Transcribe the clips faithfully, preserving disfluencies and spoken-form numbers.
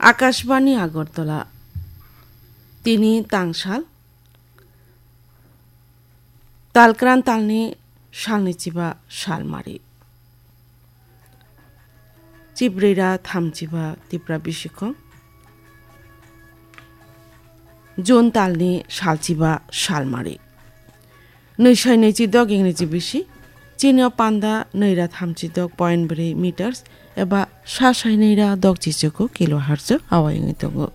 Akashbani Agartala. Tini tangsal, talkran talni salni chiba salmari. Chibrira thamchiba Tipra bisikong. June talni salchiba salmari. Nwisai nwichi dok ingreji bisi, chini o panda nwira thamchi dok point bwrwi meters eba sa sai nwira dok chichuku kilohertz o awai wngwi tongo.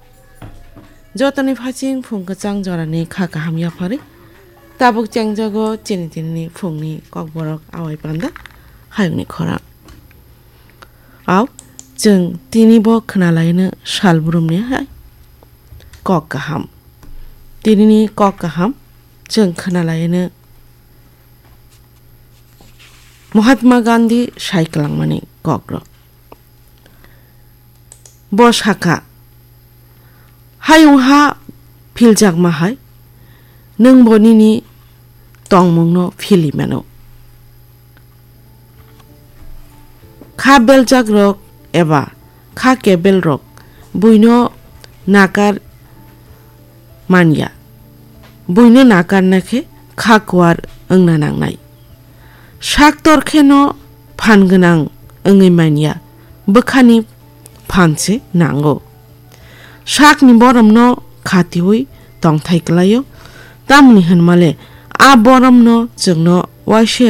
Jotoni phaching phung kwchang jorani kha kaham yapharwi tabuk chengjago chini tinini phungni kokborok awai panda hayungni khorang. Au, chwng tini bo khwnalaino sal brumni hai kok kaham. Tinini kok kaham chwng khwnalaino Mahatma Gandhi sai kwlangmani kokrok. Bo sakha, hayung ha philjakma hai, nwng bo nini tongmungno philwi mano. Kha beljakrok eba kha kebelrok buino nakar manya. Buino nakarna khe kha kuar wngna nangnai. Sak tor kheno phan gwnang wngwi manya, bwkhani phan se nango. Sakni boromno khatiui tongthai kwlaio, tamni hwnmale a boromno chwngno waisa